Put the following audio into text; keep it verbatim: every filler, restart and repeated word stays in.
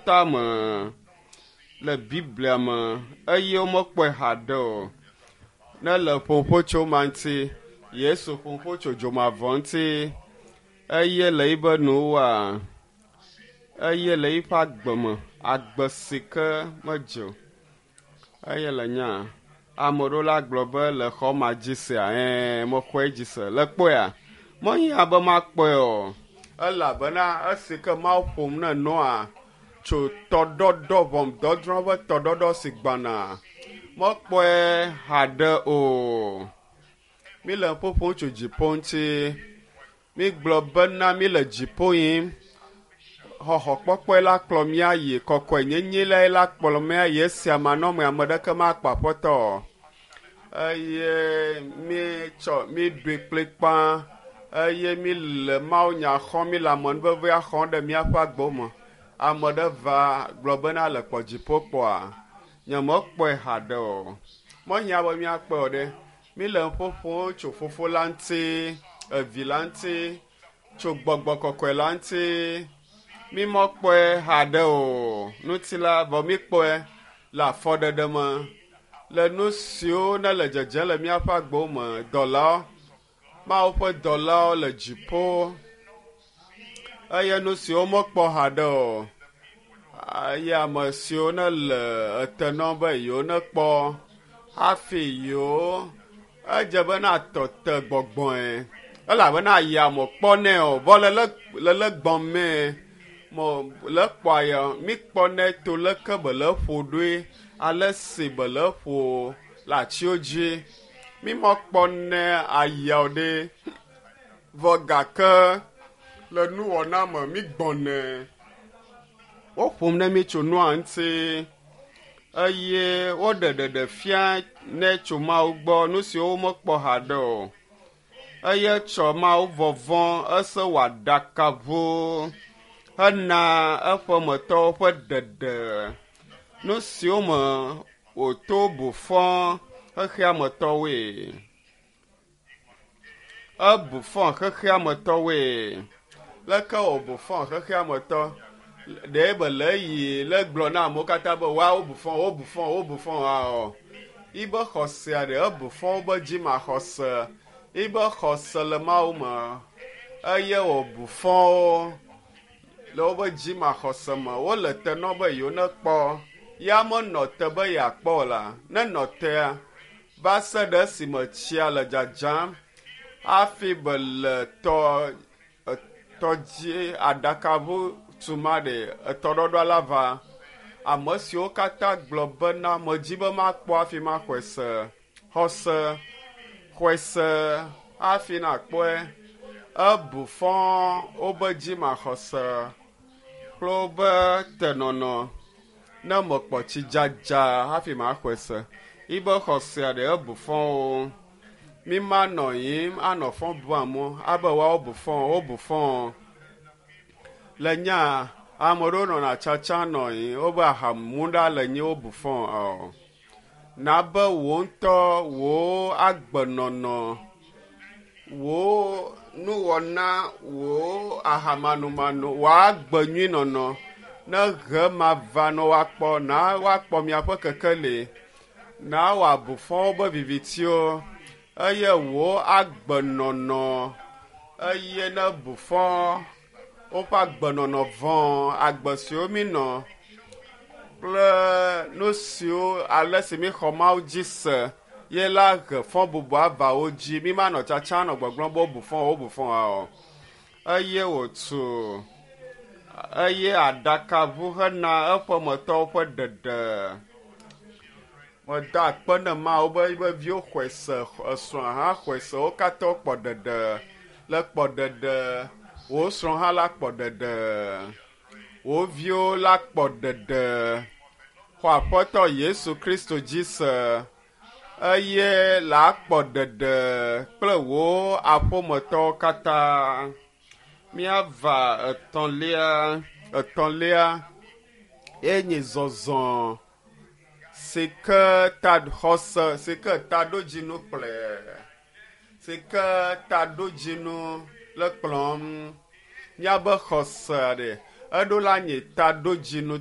Katã me le Biblia me eye womekpɔe haɖe o. Ne le ƒoƒo tso ma ŋuti, Yesu ƒoƒo tso dzomavɔ ŋuti eye le yibe nuwoa, eye le yiƒe agbe me, agbe si ke medze o. Eye le nya ame ɖewo la gblɔ be le xɔ ma dzi sea, ɛɛ mexɔe dzi se. Le kpɔea, mehiã be makpɔe o elabena esi ke Mawu ƒom ne Noa tso tɔɖɔɖɔ ʋɔnudɔdrɔ̃ ƒe tɔɖɔɖɔ si gbɔna mekpɔe haɖe o. Mi le ƒoƒom tso dziƒo ŋuti. Mi gblɔ bena mi le dziƒo yim. Xɔxɔkpɔkpɔe la kplɔ mía yi kɔkɔenyenye lae la kplɔ mía yi esia manɔme ame ɖeke makpɔ aƒetɔ o. Eye mi tsɔ mi ɖoe kplikpaa eye mi le mawunya xɔm mi le amenuvevea xɔm ɖe míaƒe agbewo me. Ame ɖe va gblɔ bena le kpɔ dziƒo kpɔa, nyemekpɔe haɖe o. Mehiã be míakpɔe o ɖe. Mi le ƒoƒom tso fofo la ŋuti, evi la ŋuti, tso gbɔgbɔ kɔkɔe la ŋuti. Mi mekpɔe haɖe o. Ŋuti la vɔ mi kpɔe le afɔɖeɖe me. Le nu siwo ne le dzedzem le míaƒe agbewo me, dɔlawo, Mawu ƒe dɔlawo le dziƒo eye nu siwo mekpɔ haɖe o. Eye ame siwo ne le ete nɔm be yewo nekpɔ hafi yewo edze be na tɔ te gbɔgbɔe elabena ayia me kpɔnɛ o vɔ le le le le gbɔmee mo le kpɔ ya mi kpɔnɛ to leke be le ƒo ɖoe ale si be le ƒo le atiwo dzi mi mekpɔnɛ ayia o ɖe vɔ gake le nuwɔna me mi gbɔnɛ woƒom ne mi tso nua ŋuti eye woɖe ɖeɖe fia ne tso Mawu gbɔ nu siwo womekpɔ haɖe o eye tsɔ Mawu vɔvɔ̃ ese wɔ aɖakaʋu hena eƒemetɔwo ƒe ɖeɖe nu siwo me wòto bu fɔ xexeametɔwoe. Ebu fɔ xexeametɔwoe. Leke wòbu fɔ xexeametɔ? Ɖe be le yi le gblɔ na amewo katã be woawo bu fɔ, wobu fɔ, wobu fɔ o. Yibe xɔsea ɖe ebu fɔ wobe dzimaxɔse. Yibe xɔse le Mawu me eye wòbu fɔ wo le wobe dzimaxɔse me. Wole te nɔ be yewo nekpɔ. Ya menɔ te be yeakpɔ o la, nenɔ tea va se ɖe esime tsia le dzadzam hafi be le tɔ tɔdzi aɖakaʋu tuma ɖe etɔɖɔɖɔ la va. Ame siwo katã gblɔ bena medzi be makpɔ hafi maxɔe se. Xɔse, xɔe se hafi nakpɔe. Ebu fɔ wobe dzimaxɔse kple wobe tenɔnɔ. Ne mekpɔ tsi dzadza hafi maxɔe se. Yibe xɔsea ɖe ebu fɔ wo. Mi manɔ yim anɔ fɔ bu amewo abe woawo bu fɔ wobu fɔ. Le nya ame ɖewo nɔna tsatsa nɔ yi wobe ahamu ɖa le nyi wobu fɔ o. Na be wò ŋutɔ wò agbenɔnɔ, wò nuwɔna, wò ahamanumanu, wò agbe nyui nɔnɔ ne he ma va ne woakpɔ na woakpɔ miaƒe kekeli na wòabu fɔ wobe vivitiwo eye wò agbenɔnɔ eye ne bu fɔ woƒe agbenɔnɔ vɔ̃ agbe siwo mi nɔ kple nu siwo ale si mi xɔ Mawu dzi se ye la he fɔ bubu ava wo dzi. Mi manɔ tsatsa nɔ gbɔgblɔm be wobu fɔ wobu fɔ o. Eye wòtu eye aɖakaʋu hena eƒemetɔwo ƒe ɖeɖe. Meda akpe ne Mawu be yibe viwo xɔe se, esrɔ̃ hã xɔe se, wo katã wokpɔ ɖeɖe. Le kpɔ ɖeɖe, wò srɔ̃ hã la kpɔ ɖeɖe. Wò viwo la kpɔ ɖeɖe. Xɔ Aƒetɔ Yesu Kristo dzi se eye la kpɔ ɖeɖe kple wò aƒemetɔwo katã. Míava etɔ̃lia, etɔ̃lia ye nye zɔzɔ si ke ta xɔse si ke taɖodzinu kplɔe si ke taɖodzinu le kplɔm. Míabe xɔse ɖe eɖo la nye taɖodzinu.